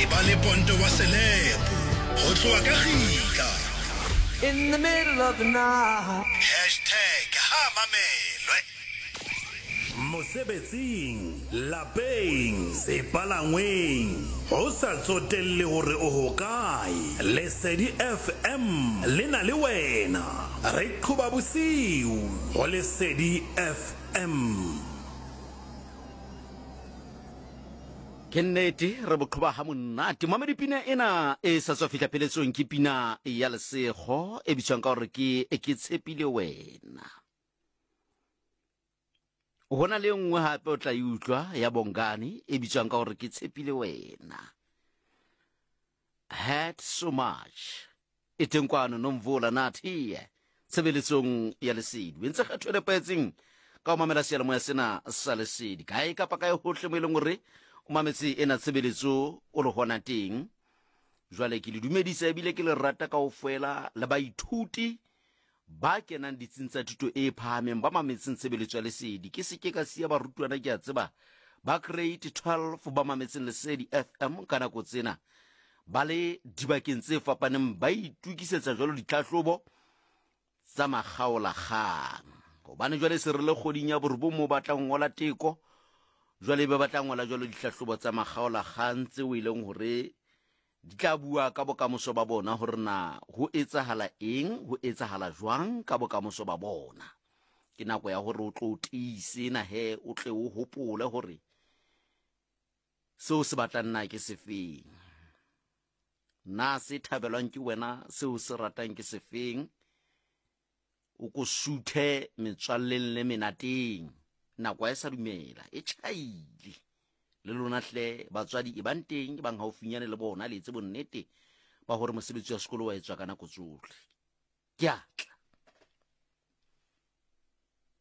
Eba le ponto wa selepo go tloga ka gitla. In the middle of the night. Hashtag ha mamelwe. Mosebetsing, lapeng, sepalangweng, go sa tsotelle gore o hokae, Lesedi FM le na le wena. Re qhoba bosiu go Lesedi FM. Ke nnete re boqhoba ha monate. Mamedi pina ena e sa tswa fihla pheletsong ke pina ya Lesego e bitswang ka gore ke Ke Tshepile Wena. Go na le e nngwe gape o tla e utlwa ya Bongani e bitswang ka gore ke Tshepile Wena. Had so much. E teng kwano Nomvula Nathi tshebeletsong ya Lesedi. O entse kgetho e nepahetseng ka ho mamela seyalemoya sena sa Lesedi. Kae kapa kae hohle mo e leng hore o mametse ena tshebeletso o le hona teng. Jwale ke le dumedisa ebile ke le rata kaofela le baithuti ba kenang ditsing tsa thuto e phahameng ba mametseng tshebeletso ya Lesedi. Ke se ke ka siya barutwana ke a tseba ba grade 12 ba mametseng Lesedi FM ka nako tsena ba le dibakeng tse fapaneng ba itukisetsa jwalo ditlhahlobo tsa makgaolakgang. Hobane jwale se re le kgoding ya borobong mo ba tla ngola teko, jwale be ba tla ngola jwalo dihlahlobo tsa makgaolakgang tseo e leng hore Di tla bua ka bokamoso ba bona hore na ho etsahala eng, ho etsahala jwang ka bokamoso ba bona. Ke nako ya hore o tlo o tiise na he o tle o hopole hore seo se batlang na ke sefeng. Na se thabelwang ke wena seo se ratang ke sefeng? O ko suthe metswalleng le menateng. Nako ha e sa dumela, e tjhaile. Le lona hle batswadi e bang teng, e bang haufinyane le bona, le etse bonnete ba hore mosebetsi wa sekolo wa etswa ka nako tsohle. Ke a tla.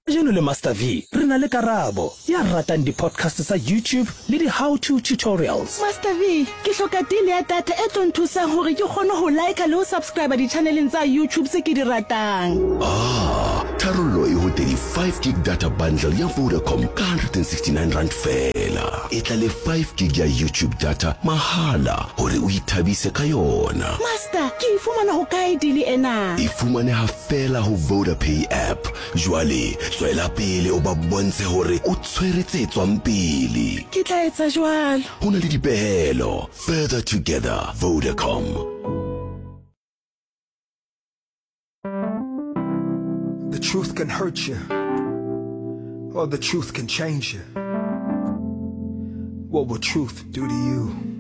Kajeno le Master V re na le Karabo, ya ratang di-podcast tsa YouTube le di-how to tutorials. Master V, ke hloka deal ya data e tlo nthusang hore ke kgone ho liker le ho subscriber di-channeleng tsa YouTube tse ke di ratang. Ah, tharollo e ho 35 gig data bundle ya Vodacom ka R169 feela. E tla le 5 gig ya YouTube data mahala hore o ithabise ka yona. Master, ke e fumana hokae deal ena? E fumaneha feela ho Vodapay app. Jwale tswela pele o ba bontshe hore o tshwere tse tswang pele. Ke tla etsa jwalo. Ho na le dipehelo. Further together. Vodacom. The truth can hurt you, or the truth can change you. What will truth do to you?